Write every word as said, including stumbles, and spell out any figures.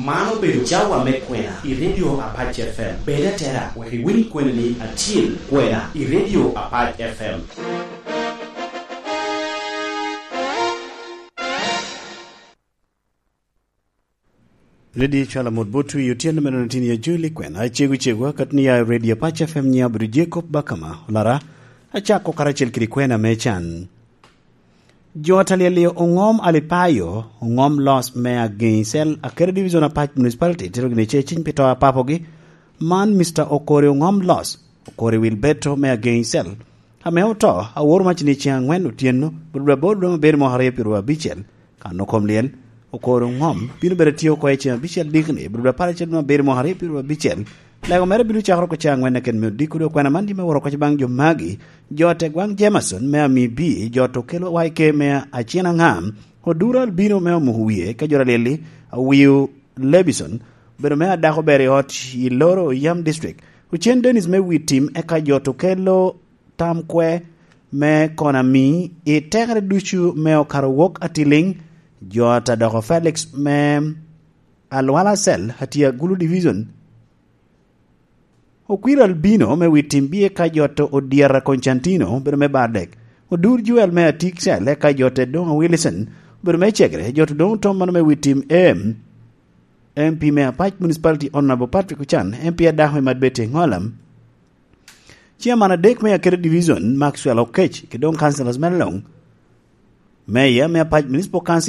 Man obedo cawa me kwena i Radio Apac F M. Bed atera wek iwiny kweni ni acil kwena i Radio Apac F M. Redio cwalo mot bot wi otyeno meno tin ya joli kwena acegu cegu akatni ya Radio Apac F M nya obedo Jacob Bakama olara. Acako karacel kede kwena me can. Jo a talyel-li oŋom Alipayo, oŋom Los me Ageŋ i Cel, Akere Division Apac Municipality, tito gini ce ciny pi to a papogi. Man Mister Okori oŋom Los, Okori Wilberto me Ageŋ i Cel, ame oto, aworo mac ni ceŋ aŋwen otyeno, bot dwe aboro dwe me abiro mwaka aryo pyeraryo abicel, kan okom lyel, Okori oŋom, bino bedo tye oko i ceŋ abicel dikni, bot dwe apar acel dwe me abiro mwaka aryo pyeraryo abicel. Lego mere bino cakere oko ceŋ aŋwen keken me odiko dwe kwena man me woro koc baŋ jo magi, jo a tegwaŋ Jameson me Ami B, jo to kelo waike me Acina Ŋam, Oduro Albino me Omuko Wie, ka jo alyel-li, Awiu Lebison, obedo me adako ber i ot i Loro Yam District, Ocen Dennis me Wi Tim, eka jo to kelo tam kwe me Konami i tekere ducu me okato wok atiliŋ, jo a ta doko Felix me Alwala Cell, Atia Gulu Division, Okwir Albino me Wi Tim B eka jot Odyera Constantino, obedo me Bardek. Odur Joel me Atik Cell eka jot Edonga Wilson, obedo me Cegre. Jot Odongo Tom mano me Wi Tim M, M P me Apac Municipality Honorable Patrick Ochan, M P adako me Madbete Ŋolam, Chairman adek me Akere Division Maxwell Okech, ki doŋ councillors me Long, Mayor me Apac Municipal Council